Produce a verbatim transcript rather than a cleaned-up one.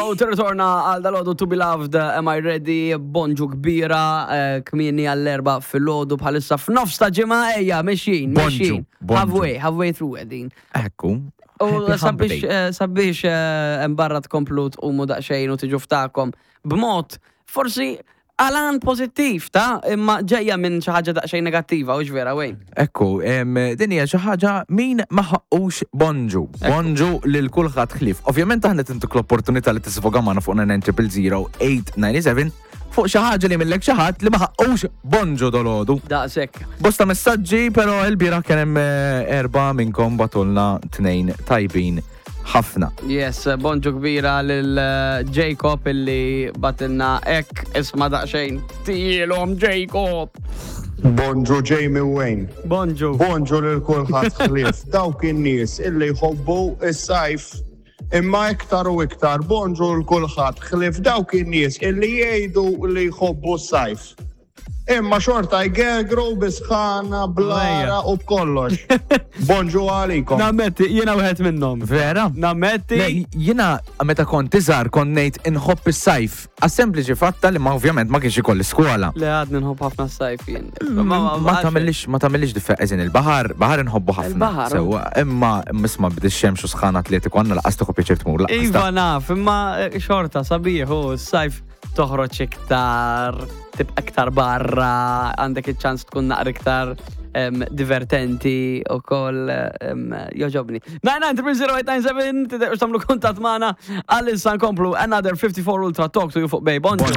Go, tirritorna għal dalgħodu To Be Loved, Am I Ready, bonġu kbira, eh, kmieni għall-erbgħa filgħodu bħalissa f'nofs ta' ġimgħa, ejja, mexjin, Bonġu, mexjin. Bonġu. Halfway, halfway through qegħdin. Ekku. U Happy hump sabiex, day. eh, sabiex eh, embarra tkomplu tqumu daqsxejn u tiġu ftakom b'mod forsi għalan pozittiv, ta' imma ġejja minn xi ħaġa daqsxejn negattiva, u vera, Wayne? Ekku, em, din hija xi ħaġa min ma ħaqqux bonġu. Bonġu lil kulħadd ħlief. Ovvjament aħna tintuk l-opportunità li tisfoga magħna fuq nine zero zero eight nine seven fuq xi ħaġa li millek xi ħadd li ma ħaqqux bonġu dalgħodu. Daqshekk. Bosta messaġġi, però il-bieraħ kien hemm eh, erba' minnkom bagħtulna tnejn tajbin ħafna. Yes, bonġu kbira lil eh, Jacob illi bagħtilna hekk, isma' daqsxejn. Tilhom, Jacob! Bonġu, Jamie Wayne. Bonġu. Bonġu lil kulħadd ħlief dawk in-nies illi jħobbu is-sajf. Imma iktar u iktar bonġu lil kulħadd ħlief dawk in-nies illi jgħidu li jħobbu s-sajf. Imma xorta jgergru bis-sħana, bl-għaraq u b'kollox. Bonġu għalikom. Nammetti, jiena wieħed minnhom. Vera? Nammetti. Le, jiena meta kont iżgħar kont ngħid inħobb is-sajf. Għas-sempliċi fatta li ma ovvjament ma kienx ikolli skola. Le, għadni nħobb ħafna s-sajf jien. Ma tagħmilix ma tagħmilix differenza, il-baħar, baħar inħobbu ħafna. Il-baħar. Sewwa, imma imma bid xemx u sħana atletiku għandna lanqas tieħu pjaċir tmur. Lanqas Iva ta' naf, imma eh, xorta sabiħ u s-sajf toħroġ iktar, tibqa iktar barra, għandek iċ-ċans tkun naqra iktar em, divertenti u koll em, jogħġobni. nine nine three zero eight nine seven, tiddequx tagħmlu kuntatt magħna, għalissa nkomplu Another fifty-four Ultra, Talk to You fuq Bay. Bonġu.